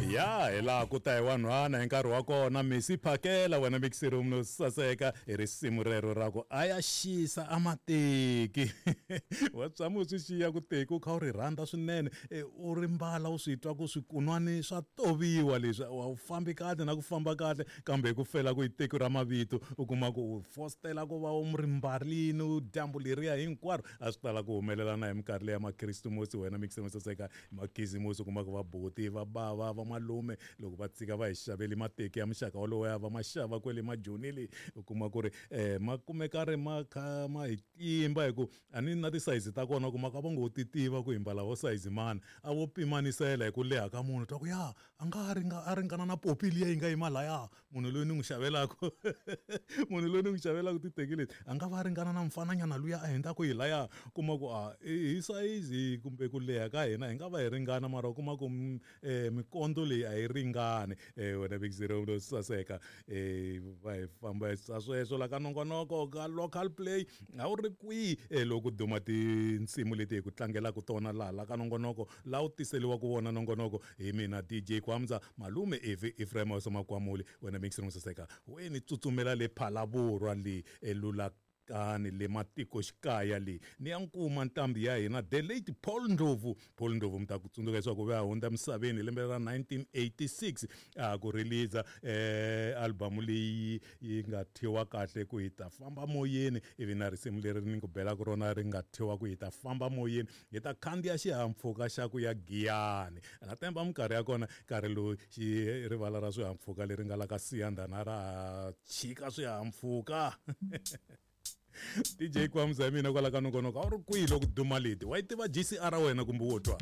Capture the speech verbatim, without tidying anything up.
Ya hi laha ku ta hi wanhwana hi nkarhi wa kona misi phakela wena mixer room no saseka hi risimu rero ra ku a ya xisa a mateki. Wa tshama u swi xiya ku teki u kha u ri rhandza swinene, u ri mbala u swi twa ku swikunwani swa toviwa leswi, a wu fambi kahle na ku famba kahle, kambe hi ku fela ku i teki ra mavito u kuma ku u fostela ku va u ri mbarini u dyambu leriya hinkwaro. A swi tala ku humelela na hi minkarhi leya makhirisimusi wena mixer room saseka, makhisimusi u kuma ku va buti va bava va malume loko va tshika va hi xaveli mateki ya muxaka wolowo ya va ma xava kwele majoni le, u kuma ku ri um ma kumeka ri ma kha ma hi tlimba hi ku a ni na tisayizi ta kona, u kuma ku a va ngo ti tiva ku hi mbala vo sayizi mani, a vo pimanisela hi ku leha ka munhu twa ku ya a nga ringa a ringana na popi liya yi nga yima laya, munhu loyi ni n'wi xavelaka munhu loyi ni n'wi xavelaka titeki leti a nga va ringana na mfananyana luya a hundzaka hi laya, kuma ku a hi sayizi kumbe ku leha ka hina hi nga va hi ringana, mara u kuma ku um mikondo leyi a yi ringani. Wena mixer room saseka, va hi famba sweswo la ka nongonoko ka local play a wu ri kwihi loko duma tinsimu leti hi ku tlangelaka tona laha la ka nongonoko laha wu tiseliwaka wona nongonoko hi mina D J Kwamza malume Evi Ephraim Makwamuli. Wena mixer room saseka, weni tsutsumela le Phalaborwa le elulakani le matikoxikaya le ni ya nkuma ntambi ya hina the late Paul Ndlovu. Paul Ndlovu mi ta ku tsundzuka leswaku va hundza misaveni hi lembe ra nineteen eighty-six a ku release eh album leyi yi nga thyiwa kahle ku hi ta famba moyeni, ivi na risimu leri ni ku belaka rona ri nga thyiwa ku hi ta famba moyeni, hi ta khandziya xihahampfhuka xa ku ya Giyani. Na temba minkarhi ya kona nkarhi lowu xi rivala ra swihahampfhuka leri nga la ka Siyandhana ra chika swihahampfhuka. D J Kwamza mina kwala ka nongonoko a wu ri kwihi loko duma leti wa yi tiva G C R wena kumbe wo twa?